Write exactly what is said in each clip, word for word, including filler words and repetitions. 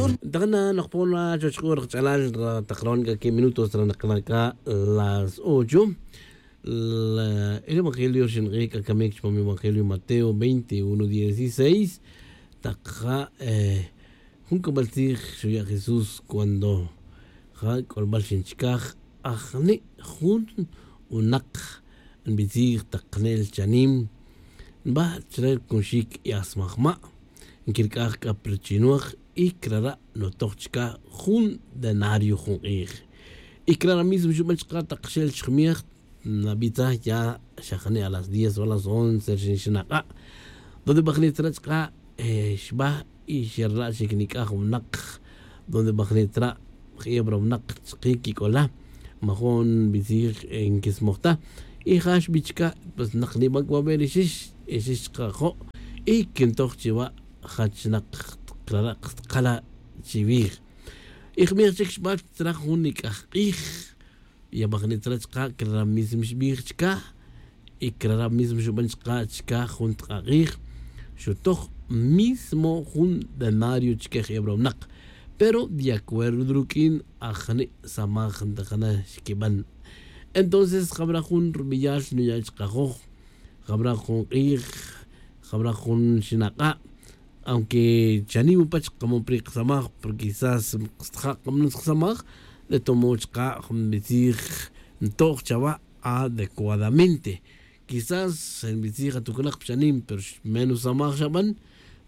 Taqana nokpon ra chuwech k'u ri qach'alal ra taq rawan k'a quince minutos ra naqana' k'a las ocho. El evangelio ri xink'ij k'a kamik chupam evangelio mateo veintiuno dieciséis. Taq ja jun k'ambal tzij xuya' jesús cuando ja k'olbal xinchikaj ajni' jun winaq nbitzij taq qanel chanim nba chre ri kunxik y asmajma' nkirk'aj k'a pa ri chinoj y krara' nutoj chka jun denario jun q'ij. Y krara' mismo xuban chka taq xel chijmej nabitzaj ya xa jani' a las diez o a las once ri xinak'a' donde bajni tzra chka xba y xerla' chi kinik'aj winaq donde bajni tzra' jebra winaq chki kik'ola majun nbitzij nkismoj ta. Y ja xbi chka pues naq niban k'u aver ixix ixix chka jo' y kintoj chiwa' jach naq krara' kstqala' chiwij. Y jmij chik xba tzra jun nik'aj q'ij ya bajni tzra chka krara' mismo xbij chka y krara' mismo xuban chka chka jun tq'aq'ij xutoj mismo jun denario chke jebra winaq. Pero de acuerdo ruk'in ajni' samaj ntajana xkiban. Entonces jabra jun rubeyal nuya' chkajoj jabra jun q'ij jabra jun xinak'a' aunque chanim upach kamon pri kasamaj porque quizás kstaja' kamanutz kasamaj de tomod chka' jun nbitzij ntoj chawa' adecuadamente. Quizás nbitzij atukunak pa chanim pero menos samaj xaban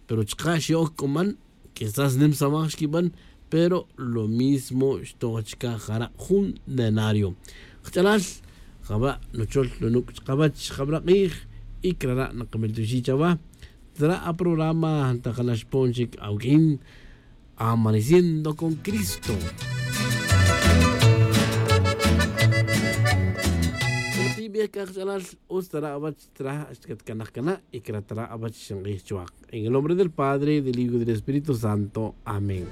pero chka' xe'ok k'uman quizás nim samaj xkiban pero lo mismo xtoj chka jara' jun denario. Kach'alal jabra' nuchol nunuc' chkawach jabra' k'ij y krara' nakamiltuxi' chawa. Tzra' aprograma ntajana xpon chic awuq'uin amaneciendo con cristo. Tibej c'a kach'alal utz tara' awach tzra' xcatcanaj cana' y cra tara' awach xink'ij chuwak en el nombre del padre del hijo del espíritu santo. Amén.